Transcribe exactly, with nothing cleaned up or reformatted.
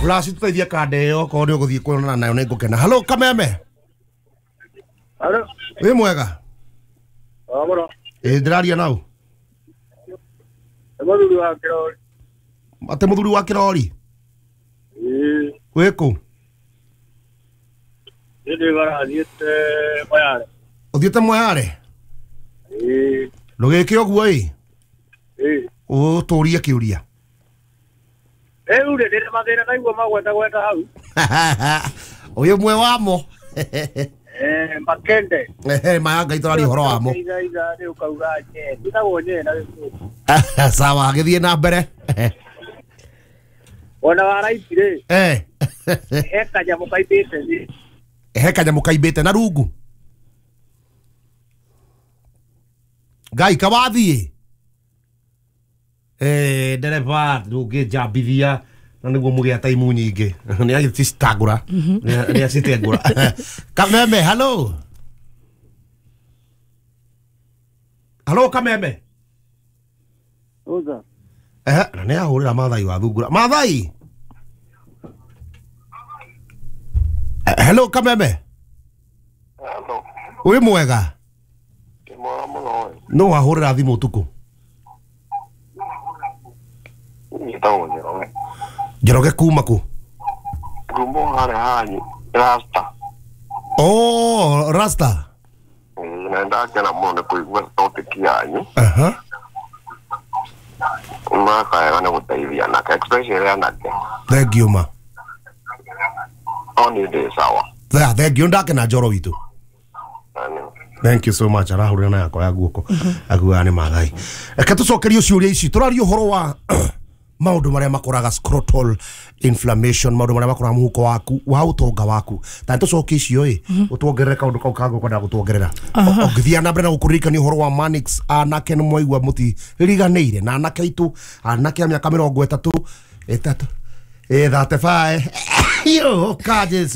Flash tũteithie kanda ĩyo okorwo nĩ ũgũthiĩ kuonana nayo nĩ ngũkena. Hello Kameme. Hello. Wĩ mwega? O mũno. Ĩ ndĩraria nau. Nĩ mũthuri wa kĩrori. Atĩ mũthuri wa kĩrori? Ĩĩ. Wĩ kũ? Niĩ ndĩ barathiĩte Moyale. Ũthiĩte Moyale? Ĩĩ. Ndũgĩke ũguo ĩ. Ĩĩ. Ũtũrie kĩũria. Rĩu rĩ ndĩna mathĩna naigua magweta gweta hau. Ũyũ mwe wamo. Eh, makende. Ehe, maya Ngai tũraria ũhoro wamo. Itha itha rĩ ũkauga nye. Njĩtagwo nye na gĩkũyũ. Sawa, gĩthiĩ na mbere. Ona wa right rĩ. Eh. He kanyamũ kaimbĩte thĩ. He kanyamũ kaimbĩte na rungu. Ngai kawathiĩ. Eh, ndereba ndũngĩnjambithia na nĩguo mũgĩa taimu nyingĩ. Nĩ agĩcitangũra. Nĩ acitengũra. Kameme, hello. Hello Kameme. Uza. Eh, na nĩ ahũrĩra Mathai wa thungura. Mathai. Hello Kameme. Hello. Wĩ mwega? Ndĩ mwega mũno. No wahũrĩra thimũ ũtukũ? Njĩtagwo Njoroge. Njoroge kuma kũ? Kuma harĩa hanyu Rasta. Oh, Rasta. Na ndakena mũno nĩ kũigua topic yanyu. Aha. Makaega nĩ gũteithia anake, especially anake. Thank you ma. O nĩ ndĩ sawa. Thank you, ndakena Njoro witũ. Thank you so much. Arahũrĩra na yakwa ya guoko. Akuaga nĩ Mathai. Reke tũcokerie ciũria ici. Tũraria ũhoro wa maũndũ marĩa makoraga scrotal inflammation, maũndũ marĩa makoraga mũhuko waku wa ũtonga waku. Ta tũcokie icio ĩ, ũtuongerere kaũndũ kau kangĩ ũkwenda gũtuongerera. Ũngĩthiĩ na mbere na gũkũririkania ũhoro wa Manix, anake nĩ mwaigua mũtiriganĩire na anake aitũ, anake a mĩaka mĩrongo ĩtatũ, ĩtatũ, ĩ thirty-five. Yo, ka Jesu.